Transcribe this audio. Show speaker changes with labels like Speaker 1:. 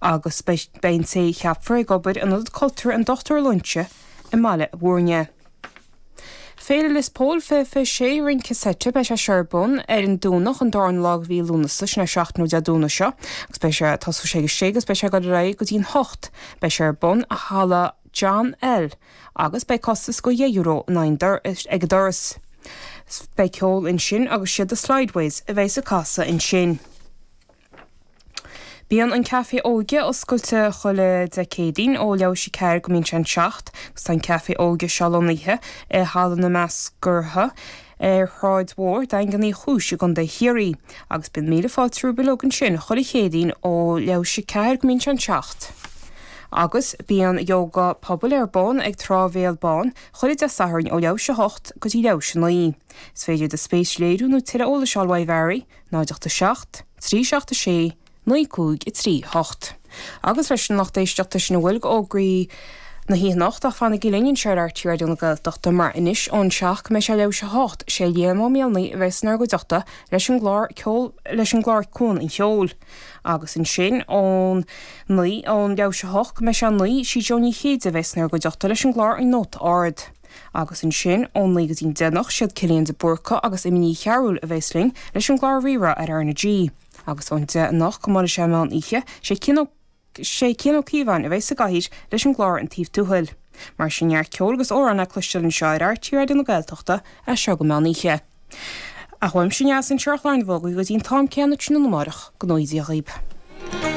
Speaker 1: Agus beidh an té a cheapfar ag obair in Ionad Cultúrtha an Dr Loinsigh i mBaile Bhúirne. Féile Lios Póil 2026, Rince Seite, beidh sé seo ar bun ar an Domhnach an darna lá de mhí Lúnasa, sin é seachtain ó Dé Domhnaigh seo, agus beidh sé, tosóidh sé ag a sé agus beidh sé ag dul ar aghaidh go dtí an hocht. Beidh sé ar bun i Halla John L. agus beidh costas de €10 in aghaidh ag an doras. Beidh ceol ansin agus siad The Slideways a bheas ag casadh ansin. Bíonn an Café Óige oscailte chuile Dé Céadaoin ó leathuair théis a 4 go mbíonn sé an 7 agus tá an Café Óige seo lonnaithe i Halla na Meascartha ar Shráid Mhór, Daingean Uí Chúis i gContae Chiarraí agus bíonn míle fáilte romhaibh uilig ansin chuile Chéadaoin ó leathuair théis a 4 go mbíonn sé an 7. Agus bíonn Yoga Pobail ar bun ag Trá Bhéal Bán chuile Dé Sathairn ó leathuair théis a 8 go dtí leathuair théis a 9. Is féidir do spéis a léiriú nó tuilleadh eolais a fháil uaidh Mhary. 0 8 7 3 7 6 9 5 3 8. Agus leis an lucht éisteachta sin a bhfuil d'fhógraí na hoíche anocht ach fanaigí linn anseo ar RTÉ Raidió na Gaeltachta mar anois ón seacht go mbeidh sé leathuair théis a hocht, sé Liam Ó Maolnaí a bheas inár gcuideachta leis an gclár ceol leis an gclár Cuan an Cheoil. Agus ansin ón naoi ón leathuair théis a hocht go mbeidh sé a naoi sí Jó Ní Chéide a bheas inár gcuideachta leis an gclár An Nóta Ard. Agus ansin, ón naoi go dtí'n deich anocht, siad Cillian de Búrca agus Amy Ní Chearúil a bheas linn leis an gclár Rí-Rá ar R na G. Agus ón deich anocht go mbuailfidh sé an meán oíche, sé Cian Ó sé Cian Ó Cíobháin a bheas sa gcathaoir leis an gclár An Taobh Tuathail. Mar sin, neart ceoil agus amhrán le cloisteáil anseo ar RTÉ Raidió na Gaeltachta as seo go meán oíche. Ach uaimse Neasa anseo ar chlár na bhfógraí go dtí an t-am céanna tráthnóna amárach, go ngnóthaí Dia dhaoib.